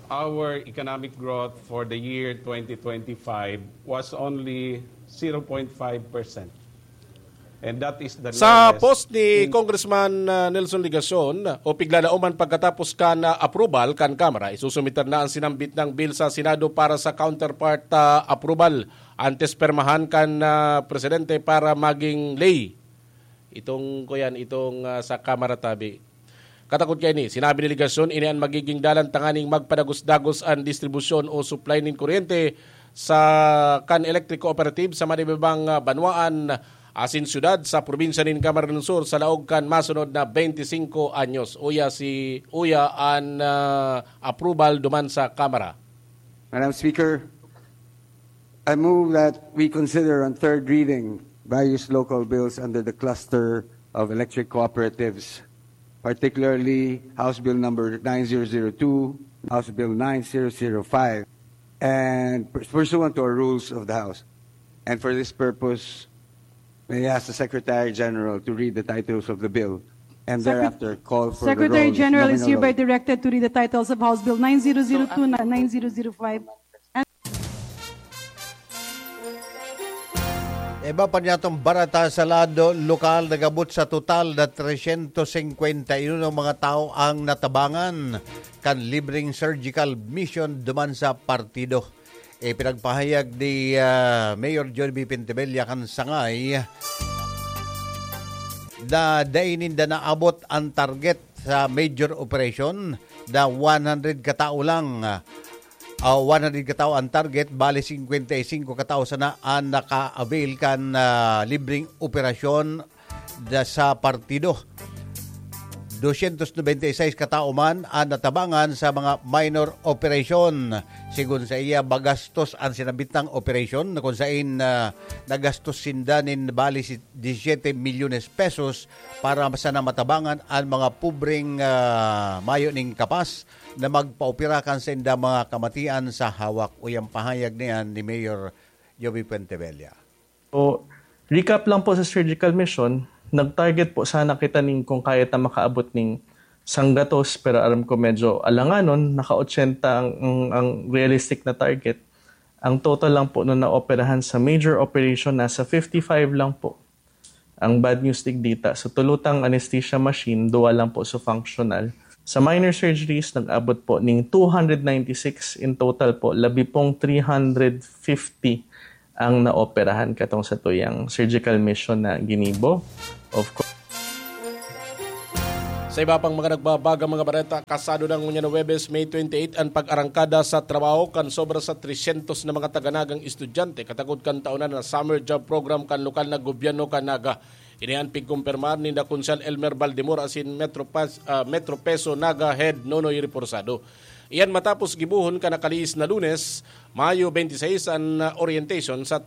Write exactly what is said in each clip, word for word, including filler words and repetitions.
our economic growth for the year twenty twenty-five was only zero point five percent. And that is the Sa lowest post ni in Congressman uh, Nelson Legacion, o pigla na uman pagkatapos kan uh, approval kan Kamara, isusumiter na ang sinambit ng bill sa Senado para sa counterpart uh, approval. Antes permahan kan uh, presidente para maging ley. Itong, kuyan, itong uh, sa Kamara tabi. Katakot kaini, sinabi ni Legacion, ini an magiging dalan tanganing magpadagos-dagos an distribusyon o supply nin kuryente sa kan electric cooperative sa madibibang ah, banwaan asin syudad sa probinsya nin Camarines Sur sa laog kan masunod na twenty-five anyos. Uya si uya an ah, approval duman sa Kamara. Madam Speaker, I move that we consider on third reading various local bills under the cluster of electric cooperatives, particularly House Bill number nine zero zero two, House Bill nine zero zero five, and pursuant to our rules of the House. And for this purpose, may I ask the Secretary General to read the titles of the bill and Secret- thereafter call for Secretary the roll. General is hereby directed to read the titles of House Bill nine zero zero two and nine zero zero five. Iba pa niyatong barata sa lado lokal, nagabot sa total na tresyentos singkwenta y uno mga tao ang natabangan kan libreng surgical mission duman sa partido. Ipinagpahayag ni ah, Mayor John B. Pentebella kan sangay na dai ninda naabot ang target sa major operation na one hundred katao lang. Ah, one hundred katao ang target, bali singkwenta y singko katao sana ang naka-avail kan ah, libreng operasyon da sa partido. Dosyentos nobenta y seis katao man ang natabangan sa mga minor operation. Sigon sa iya, magastos ang sinabitang operasyon na kung sain ah, nagastos sinda nin bali si disisyete milyones pesos para sana matabangan ang mga pobreng ah, mayo ning kapas na magpaopera kan sainda mga kamatian sa hawak. Uyang pahayag niyan ni Mayor Joby Puentebella. So, recap lang po sa surgical mission, nag-target po sana kita ning kung kaya ta makaabot ning sanggatos, pero aram ko medyo alanganon, naka ochenta ang, ang, ang realistic na target. Ang total lang po na naoperahan sa major operation, nasa fifty-five lang po. Ang bad news digdita, sa tulutang anesthesia machine, duwa lang po sa functional. Sa minor surgeries, nag-abot po ning two hundred ninety-six in total po, labi pong three hundred fifty ang naoperahan katong sa tuyang surgical mission na ginibo. Of course, Sa iba pang mga nagbabagang mga bareta, kasado na ngunyan na Huwebes, May twenty-eight, ang pag-arangkada sa trabaho kan sobra sa tresyentos na mga taga-Nagang estudyante katakod kan taon na Summer Job Program kan lokal na gobyerno kan Naga. Ini an pigkumpirmar ninda Konsehal Elmer Baldemor asin Metro, Pas, ah, Metro Peso Naga Head Nonoy Reforzado. Iyan matapos gibohon kan nakaliis na Lunes, Mayo twenty-six, an ah, orientation sa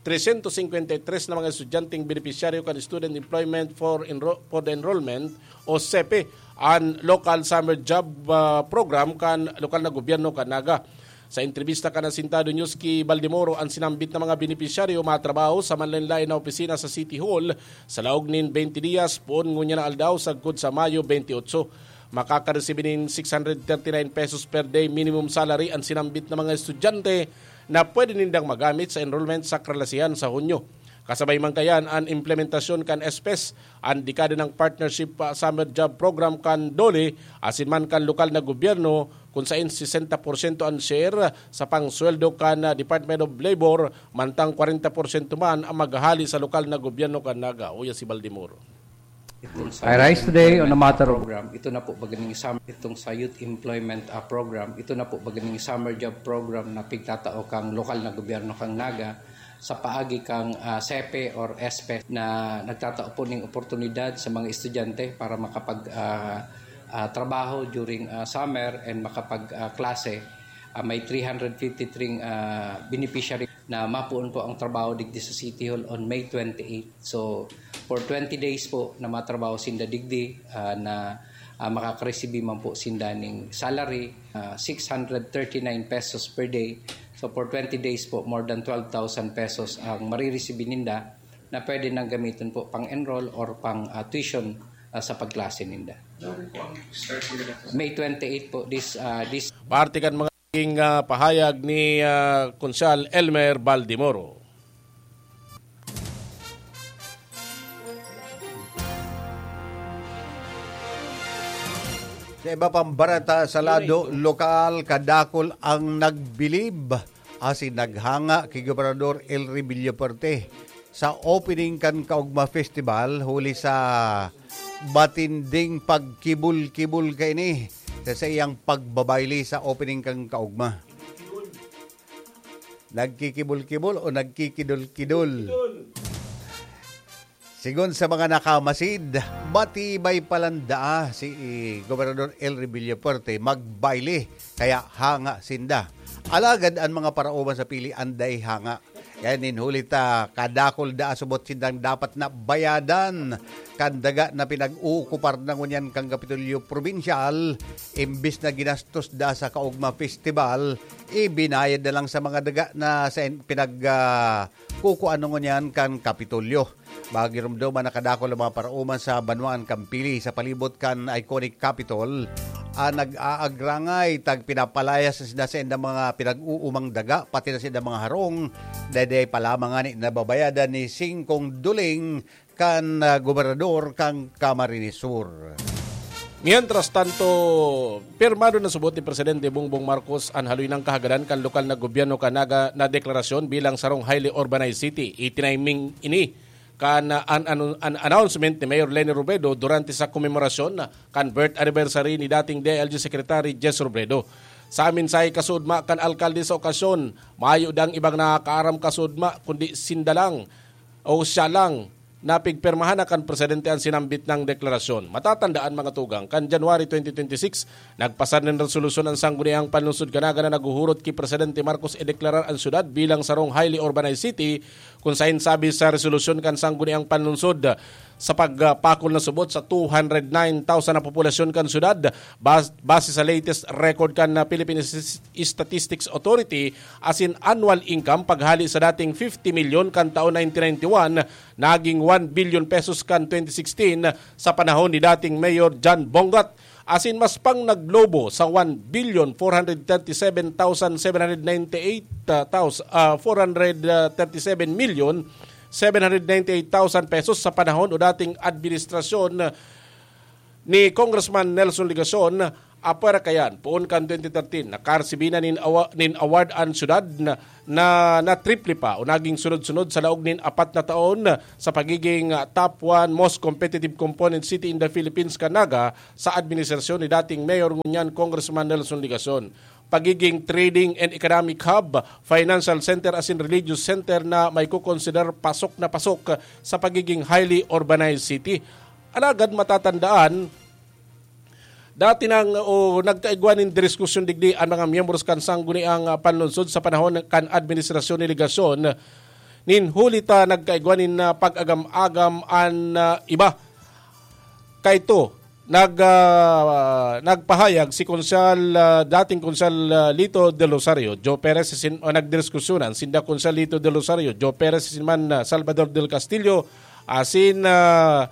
tresyentos singkwenta y tres na mga estudyanteng benepisyaryo kan Student Employment for, Enro- for the Enrollment o SEPE, an Local Summer Job ah, Program kan lokal na gobyerno kan Naga. Sa entrebista kan Asintado News ki Baldemoro, an sinambit na mga benepisyaryo matrabaho sa manlaen-laen na opisina sa City Hall sa laog nin twenty diyas, poon ngunyan na aldaw sagkod sa Mayo twenty-eight. Makakaresibi nin six hundred thirty-nine pesos per day minimum salary an sinambit na mga estudyante na pwede nindang magamit sa enrollment sa kalasihan sa Hunyo. Kasabay man kayan an implementasyon kan SPES, an dekada ng partnership ah, summer job program kan DOLE asin man kan lokal na gobyerno, kun sain sesenta porsyento an share sa pangsweldo kan ah, Department of Labor, mantang kwarenta porsyento man ang maghahali sa lokal na gobyerno kan Naga. Uya si Baldemoro. I rise today on a matter of program. Ito na po baganing summer itong sa Youth Employment ah, Program. Ito na po baganing summer job program na pigtatao kang lokal na gobyerno kang Naga sa paagi kang ah, SEPE or SPES na nagtatao po ning oportunidad sa mga estudyante para makapag ah, ah, trabaho during ah, summer and makapag ah, klase. Ah, may three hundred fifty-three ah, beneficiary na mapuon po ang trabaho digdi sa City Hall on May twenty-eight. So, for twenty days po na matrabaho sinda digdi ah, na ah, makakaresibi man po sinda ning salary, ah, six hundred thirty-nine pesos per day. So, for twenty days po, more than twelve thousand pesos ang mariresibi ninda na pwede nang gamiton po pang-enroll or pang ah, tuition ah, sa pagklase ninda. May twenty-eight po, this, ah, this Parte kan mga naging, ah, pahayag ni, ah, Konsehal Elmer Baldimoro. Sa iba pang bareta sa lado lokal, kadakul ang nagbilib asin naghanga ki Gobernador Elry Villafuerte sa opening kan Kaugma Festival huli sa matinding pagkibul-kibul kaini sa saiyang pagbabayle sa opening kan Kaugma. Nagkikibul-kibul o nagkikidul-kidul? Sigon sa mga nakamasid, matibay palan daa si Gobernador Elry Villafuerte magbayle, kaya hanga sinda. Alagad an mga parauman sa pili anday hanga. Kaya nin huli ta, kadakul daa subot sindang dapat na bayadan kan daga na pinag-uukupar na ngunyan kan Kapitolyo Probinsyal, imbis na ginastos daa sa Kaugma Festival, ibinayad na lang sa mga daga na sa in-, pinag, ah, kukuan na ngunyan kan Kapitolyo. Magiromdom an nakadakul na mga parauman sa banwaan kan pili sa palibot kan iconic Capitol, an nag-aagrangay tag pinapalayas na sinda saindang mga pinag-uumang daga, pati na saindang mga harong, dai pa lamang ngani nababayadan ni singkong duling kan, ah, gobernador kan Camarines Sur. Mientras tanto, pirmado na subot ni Presidente Bongbong Marcos an haloy nang kahagadan kan lokal na gobyerno kan Naga na deklarasyon bilang sarong highly urbanized city. Itiniming ini kan, ah, an, an, an announcement ni Mayor Leni Robredo durante sa komemorasyon kan birth anniversary ni dating D I L G Secretary Jess Robredo. Sa mensahe kasuodma kan alkalde sa okasyon, mayo dang ibang nakakaaram kasuodma kundi sinda lang o siya lang na pigpirmahan na kan presidente an sinambit nang deklarasyon. Matatandaan, mga tugang, kan January twenty twenty-six, nagpasar nin resolusyon an Sangguniang Panlungsod kan Naga na naghuhurot ki Presidente Marcos ideklarar an syudad bilang sarong highly urbanized city, kun saen sabi sa resolusyon kan Sangguniang Panlungsod, sa pagpakol na subot sa two hundred nine thousand na populasyon kan syudad, bas-, base sa latest record kan, ah, Philippine Stas-, Statistics Authority, asin annual income paghali sa dating fifty milyon kan taon nineteen ninety-one, naging one billion pesos kan twenty sixteen, sa panahon ni dating Mayor John Bongat. Asin mas pang naglobo sa one billion four hundred thirty-seven thousand seven hundred ninety-eight, ah, thousand, ah, four hundred thirty-seven million seven hundred ninety-eight thousand pesos sa panahon o dating administrasyon ni Congressman Nelson Legacion. Apwera kayan, poon kan twenty thirteen, nakaresibi na nin awa-, nin award an syudad na, na, na triple pa o naging sunod-sunod sa laog nin apat na taon sa pagiging, ah, top one most competitive component city in the Philippines kan Naga sa administrasyon ni dating Mayor ngunyan Congressman Nelson Legacion. Pagiging trading and economic hub, financial center asin religious center na maikokonsider pasok na pasok sa pagiging highly urbanized city. Alagad matatandaan, dati nang o nagkaigwa nin diskusyon digdi an mga miyembros kan Sangguniang, ah, Panlungsod sa panahon kan administrasyon ni Legacion. Nin huli ta nagkaigwa nin, ah, pag-agam-agam an, ah, iba. Kaito, nag, ah, nagpahayag si Konsehal, ah, dating Konsehal, ah, Lito Del Rosario, Joe Perez, sin-, o nagdiskusyonan sinda Konsehal Lito Del Rosario, Joe Perez, sin man, ah, Salvador Del Castillo, asin, ah,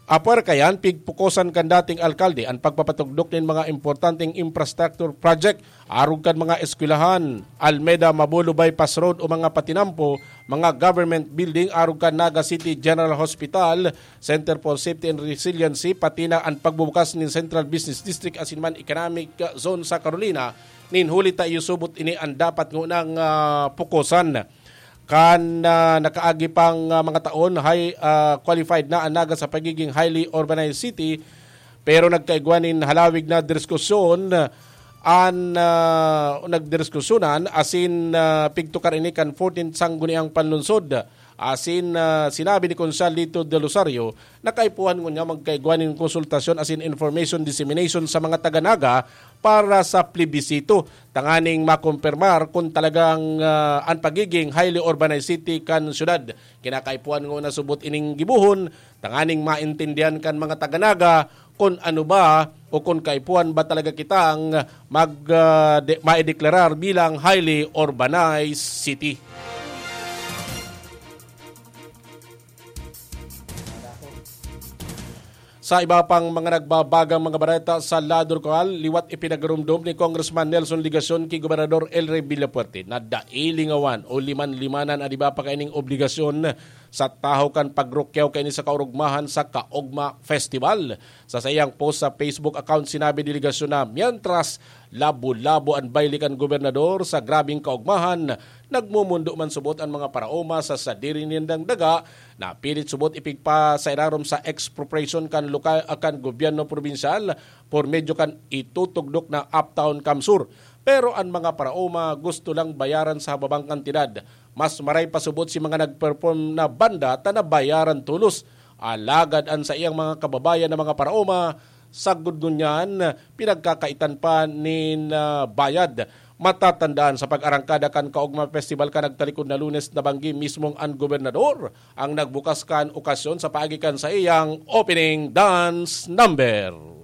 apwera kayan, pigpukosan kan dating alkalde an pagpapatugdok nin mga importanteng infrastructure project, arog kan mga eskwelahan, Almeda Mabolo Bypass Road o mga patinampo, mga government building, arog kan Naga City General Hospital, Center for Safety and Resiliency, pati na an pagbubukas nin Central Business District asin man Economic Zone sa Carolina, nin huli ta iyo subot ini an dapat ngunang, ah, pukosan. Kan, ah, nakaagi pang, ah, mga taon, high, ah, qualified na an Naga sa pagiging highly urbanized city, pero nagkaigwa nin halawig na diskusyon an, ah, nagdiskusyonan asin, ah, pigtukar ini kan fourteenth Sangguniang Panlungsod. Asin, ah, sinabi ni Konsehal Lito Del Rosario, nakaipuhan ngunyan magkaigwa nin konsultasyon asin information dissemination sa mga taga Naga para sa plebisito, tanganing makumpirmar kun talagang, ah, an pagiging highly urbanized city kan syudad. Kinakaipuhan nguna subot ining gibohon, tanganing maintindihan kan mga taga Naga kun ano ba o kun kaipuhan ba talaga kitang mag, ah, de-, maideklarar bilang highly urbanized city. Sa iba pang mga nagbabagang mga bareta sa lado lokal, liwat ipinagarumdom ni Congressman Nelson Legacion ki Gobernador El Rey Villafuerte na dai lingawan o liman-limanan an iba pa kaining obligasyon sa tahaw kan pagrukyaw kaini sa kaurugmahan sa Kaogma Festival. Sa saiyang post sa Facebook account, sinabi ni Legacion na mientras labo-labo an bayle kan gobernador sa grabeng kaogmahan, nagmumundo man subot an mga paraoma sa sadiri nindang daga, napilit subot ipigpa sa irarom sa expropriation kan lokal, kan gobyerno probinsyal por medyo kan itutugdok na Uptown CamSur. Pero an mga paraoma gusto lang bayaran sa hababang kantidad. Mas maray pa subot si mga nag-perform na banda ta nabayaran tolos. Alagad an saiyang mga kababayan na mga paraoma, sagkod ngunyan, pinagkakaitan pa nin ah, bayad. Matatandaan, sa pag-arangkada kan Kaogma Festival kan nagtalikod na Lunes, nabanggi mismong an gobernador ang nagbukas kan okasyon sa paagi kan saiyang opening dance number.